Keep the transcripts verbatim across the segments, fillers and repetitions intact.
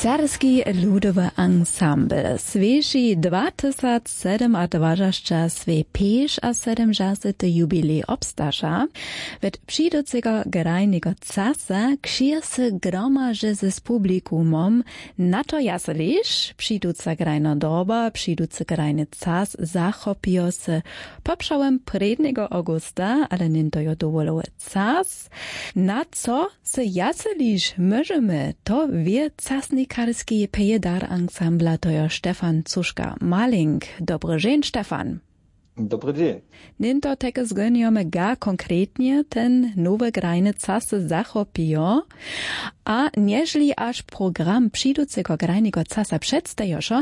Starski ludowy ansambl swěši dwatysac sedym a dwažasća swój pěš a sedymdźesety jubilej obstaša. Wot přiduceho grajneho casa křije se gromaže z publikumom. Na to jaseliš přiduca grajna doba, přiducy grajny cas zachopijo se popřawom prědneho augusta, ale něnto jo dowolowy cas. Na co se jaseliš móžemy, to wě casnikarski pějedar ansambla, to jo Stefan Cuška-Malink. Dobry dźeń, Stefan. Dobry dźeń. Něnto teke zgónjamy ga konkretnje ten nowy grajny cas zachopijo. A nježli až program přiduceho grajneho casa předstajošo,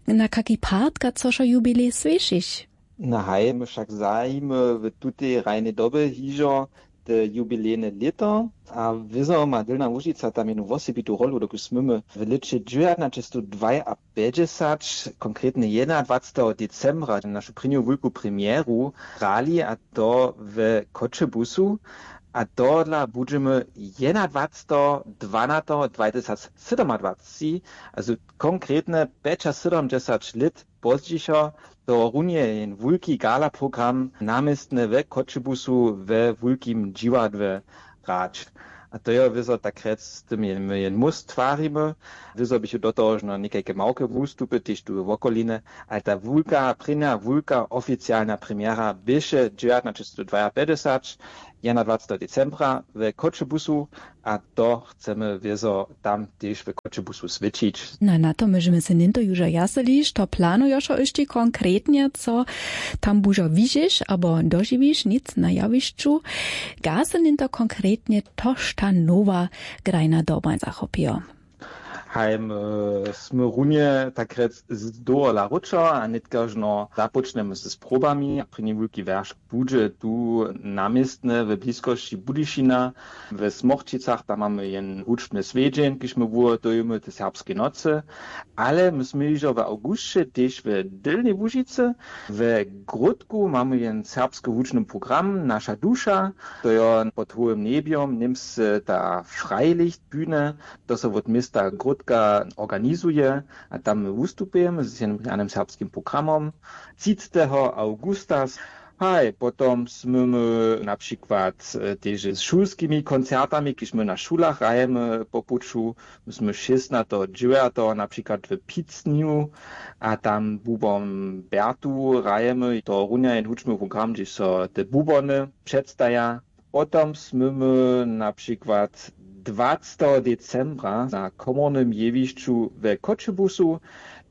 na kaki partka cošo jubilej swěšiš? Na haj, my wšak zajimy w tutej hrajnej dobje hižo te jubilejne lěto a wězo ma dylna łužica tam jednu wosebitu rolu, dokelž smymy w lěće dźewjatnaćestodwajapjećdźesat, konkretnje jedynadwaceteho decembra, našu prěnju wulku premjeru hrali, a to w Choćebuzu. A tohodla budźemy jedynadwaceteho dwanateho dwajtysacsydomadwacci, a z konkretnje pjećasydomdźesat lět pozdźišo, to runje jen wulki galaprogram na městnje we Choćebuzu we wulkim dźiwadle hrać. A to jo wězo tak rjec, z tym jen, my jen móst twarimy. Wězo běchu do toho žno někajke małke wustupy tež tu w wokolinje, ale ta wulka prěnja wulka oficialna premjera běše dźewjatnaćestodwajapjećdźesat, jedynadwaceteho decembra w Choćebuzu. A to chcemy wězo tam tež w Choćebuzu swěćić. Na na to móžemy se něnto južo jaseliš, to planujošo hyšći konkretnje, co tam bužo widźiš abo dožiwiš nic na jawišću? Ga se něnto konkretnje tož ta nowa grajna doba zachopijo? Haj, my smy runje tak rjec z dowola wróćo a nětkažno započnjemy z probami. Prěni wulki wjeršk budźe tu na městnje w bliskosći Budyšina, w Smorčicach, tam mamy jen hudźbny swjedźeń, kiž my wuhotujemy te serbske nocy. Ale my smy hižo w awgusće tež w Dylnej Łužicy. W Grótku mamy jen serbski hudźbny program Naša duša, to jo pod hołym njebjom němsce ta Freilichtbühne, to so wot města Grótka organizuje. A tam my wustupujemy z jenym rjanym serbskim programom. Třicteho awgusta. Haj, potom smymy na přikład, e, tež z šulskimi koncertami, kiž my na šulach hrajemy po puću. My smy šěstnateho dźewjateho na přikład w Picnju a tam bubom Bertu hrajemy, to runja jen hudźbny program, hdźež so te bubony předstaja. Potom smy my na přikład dwaceteho decembra na komornym jewišću we Choćebuzu.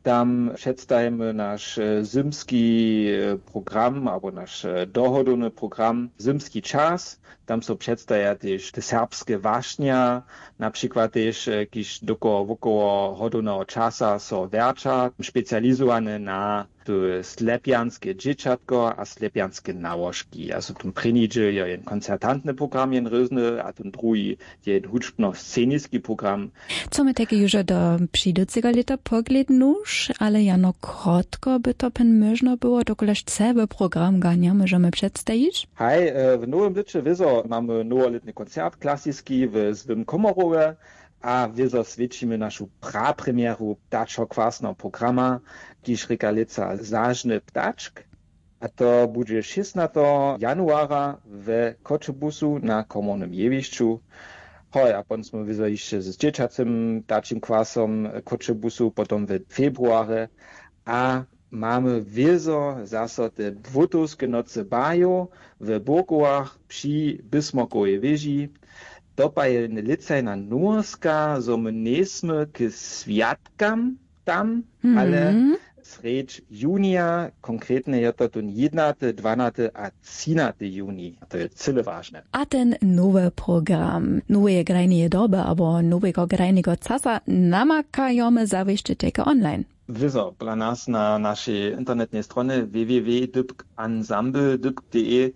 Tam předstajimy naš, e, zymski, e, program abo naš, e, dohodowny program Zymski čas. Tam so předstaja tež te serbske wašnja, na přikład tež, e, kiž dokoło wokoło hodowneho časa so wjerća, specializowane na te Slepjanske dźěćatko a Slepjanske nałožki. A so tón prěni dźěl jo jen koncertantny program, jen rězny, a tón druhi je jen hudźbno-sceniski program. Co my tajke južo do přiduceho lěta poglědnuš, ale jano krotko by to pjen móžno było, dokelž całe program ga njemóžemy předstajić? Haj, e, w nowym lěće wězo mamy nowolětny koncert klasiski w Złym Komorowje. A wězo swěćimy našu prapremjeru ptačokwasneho programa, kiž rěka lětsa Zažny ptačk. A to budźe šěstnateho januara w Choćebuzu na komornym jewišću. Hoj, a potom smy wězo hišće z dźěćacym ptačim kwasom w Choćebuzu, potom w februarje. A mamy wězo zaso te błótowske nocy bajow w Burkowach při Bismarckowej wěži. To pak je lětsa jena nowostka, zo my njejsmy k swjatkam tam, ale srjedź junija, konkretnje je to tón jědnaty, dwanaty a třinaty junij. To je cyle wažne. A ten nowy program noweje grajneje doby abo noweho grajneho casa namakajome zawěsće tajke online. Wězo, pola nas na našej internetnej stronje w w w dypk ensemble dypk d e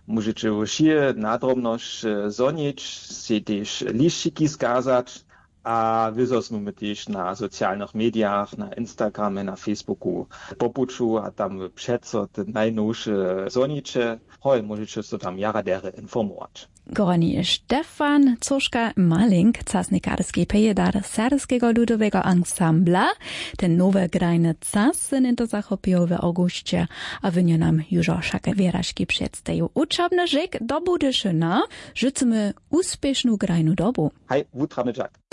móžeće wšě nadrobnosć, e, zhonić, sej tež lisćiki skazać. A wy zo smy my tež na socialnych medijach, na Instagramje, na Facebooku po puću a tam wy přeco te najnowše zhoniće. Hoj, móžeće so tam jara derje informować. Koroni Stefan Coška Malink, casnikarski pejedar serbskeho ludoweho ansambla. Ten nowy grajny cas se něto zachopił w augusće, a wynjo nam južo wšake wěraški předstajił. Učobny žek do Budyšyna, žycymy uspěšnu grajnu dobu. Haj, wutrany dźak.